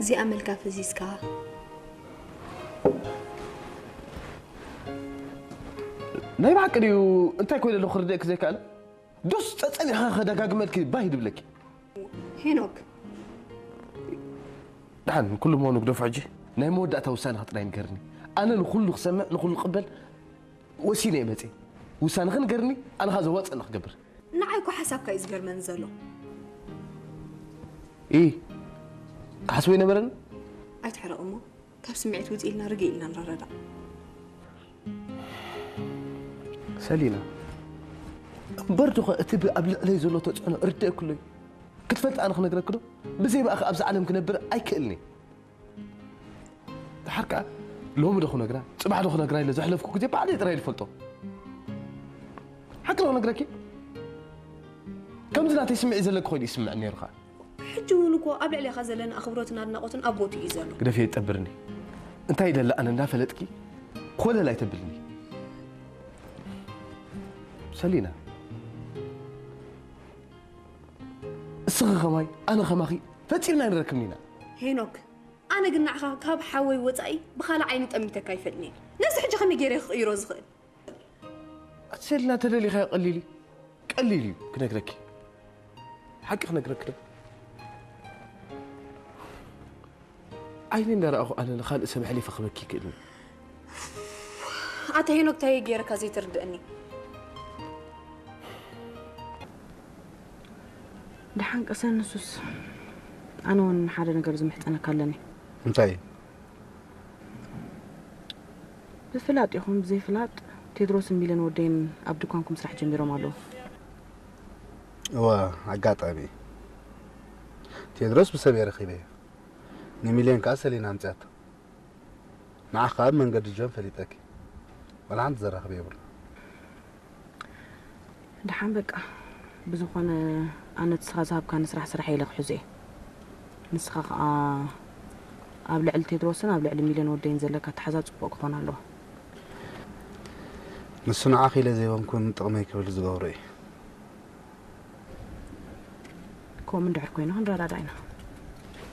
እዚኣ መልካ ፈዚዝካ። ናይ ብሓቂ ድዩ እንታይ ኮይነ ኣለኹ ክርድእክ ዘይከኣለ? ዶስ ጸጸኒኻ ከደጋግመልኪ ባይ ድብለኪ። ሄኖክ ደሓን ኩሉ ምዃኑ ግደፎ ሕጂ። ናይ መወዳእታ ውሳነኻ ጥራይ ንገርኒ። ኣነ ንኹሉ ክሰምዕ ንኹሉ ክቕበል ወሲነ እየ መፅየ። ውሳነኺ ንገርኒ፣ ኣነ ኸኣ ዘዋፅእና ክገብር። ንዓይ እኮ ሓሳብካ እዩ ዝገርመኒ ዘሎ። ኢ ክሓስቦ ኣይነበረን። ኣይትሕረቕ እሞ ካብ ስምዒት ውፅ ኢልና ርግእ ኢልና ንረዳዳእ። ሰሊና እምበር ዶኸ እቲ ብ- ኣብ ልዕለይ ዘሎ ተፅዕኖ እርድእክሎ እዩ። ክትፈልጥ ኣነ ክነግረክ ዶ? ብዘይ ብኣኺ ኣብዚ ዓለም ክነብር ኣይክእልን እየ። ድሓር ከዓ ሎሚ ዶ ክነግራ ፅባሕ ዶ ክነግራ ኢለ ዘሕለፍኩ ግዜ ባዕለይ ጥራይ ዝፈልጦ። ሓቂ ዶ ክነግረኪ ከምዚ ናተይ ስምዒት ዘለኪ ኮይኑ ይስምዕ ነይሩ ከዓ። ሕጂ እውን እኮ ኣብ ልዕሌኻ ዘለና ኣኽብሮትን ኣድናቖትን ኣብ ቦትኡ እዩ ዘሎ። ግደፊ የጠብርኒ። እንታይ ይደሊ ኣነ እንዳፈለጥኪ ኮለል ኣይተብልኒ ሰሊና። እስኺ ኸማይ ኣነ ኸማኺ ፈጺምና ኣይንረክብን ኢና። ሄኖክ ኣነ ግን ንዓኻ ካብ ሓወይ ወጻኢ ብኻልእ ዓይኒ ጠሚተካ ኣይፈልጥን እየ። ነዚ ሕጂ ከመይ ገይረ ክቕይሮ ዝኽእል? ኣቲ ሰሊና ተደሊኻዮ ቀሊል እዩ። ቀሊል እዩ ክነግረኪ። ሓቂ ክነግረኪ ዶ? ዓይኒ እንዳረኣኹ ኣነ ንኻልእ ሰብ ኣሕሊፈ ክበኪ ይክእልኒ። ኣታ ሄኖክ እንታይ ገይረካ ዘይትርድእኒ? ደሓን ቀሰን ንሱስ ኣነ እውን ሓደ ነገር ዝምሕጸነካ ኣለኒ። እንታይ እዩ? ብፍላጥ ይኹን ብዘይፍላጥ ቴድሮስን ሚለን ወደይን ኣብ ድኳንኩም ስራሕ ጀሚሮም ኣለዉ። እወ ኣጋጣሚ ቴድሮስ ብሰብ እየ ረኺበዮ። ንሚልዮን ከዓ ሰሊና ኣምፅኣቶ። ንዓኻ ኣብ መንገዲ ጆን ፈሊጠኪ። ዋላ ሓንቲ ዘራኽብ የብሉ። ደሓን በቃ ብዝኾነ ኣነ ንስኻ ዝሃብካኒ ስራሕ ስራሕ ኢለ ክሕዞ እየ። ንስኻ ከዓ ኣብ ልዕሊ ቴድሮስን ኣብ ልዕሊ ሚልዮን ወደይን ዘለካ ኣተሓዛ ፅቡቕ ክኾን ኣለዎ። ንሱ ንዓኺ ኢለ ዘይኮንኩን ጥቕመይ ክብል ዝገብሮ እዩ። ከምኡ እንድሕር ኮይኑ ክንረዳዳ ኢና።